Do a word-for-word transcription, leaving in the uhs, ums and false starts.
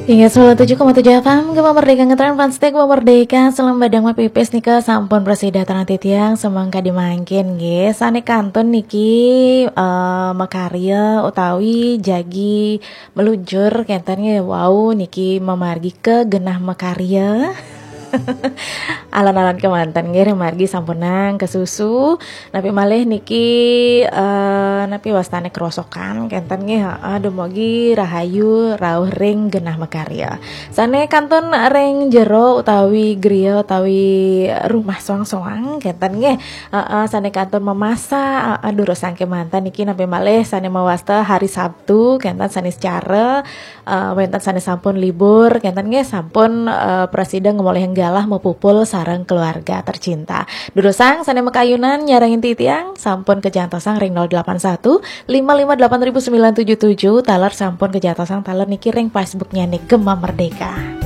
Inggih, sembilan tujuh koma tujuh F M, Gema Merdeka ngetren, fans setia Gema Merdeka, salam badang mapipis nika, sampun prasida tarang titiang, semangka dimangkin nggih. Sane kantun niki, eh, makarya utawi jagi meluncur kenten nggih, wau niki mamargi ke genah makarya. Alan-alan kemanten nggih, ring margi sampunang kasusu. Napi malih niki, eh, napi wastane kerosokan kenten nggih, heeh, dumugi rahayu rauh ring genah makarya. Sane kantun ring jero utawi griya utawi rumah soang-soang kenten nggih. Heeh, sane kantun memasak, heeh, durusang kemanten niki napi malih sane mawasta hari Sabtu kenten sane secara, eh, wenten sane sampun libur kenten nggih, sampun, eh, prasida ngemolihang galah mapupul sareng keluarga tercinta. Durusang sane makayunan nyarengin titiang sampun kajantosang ring nol delapan satu lima lima delapan ribu sembilan tujuh tujuh, taler sampun kajantosang taler niki ring Facebooknya nih Gema Merdeka.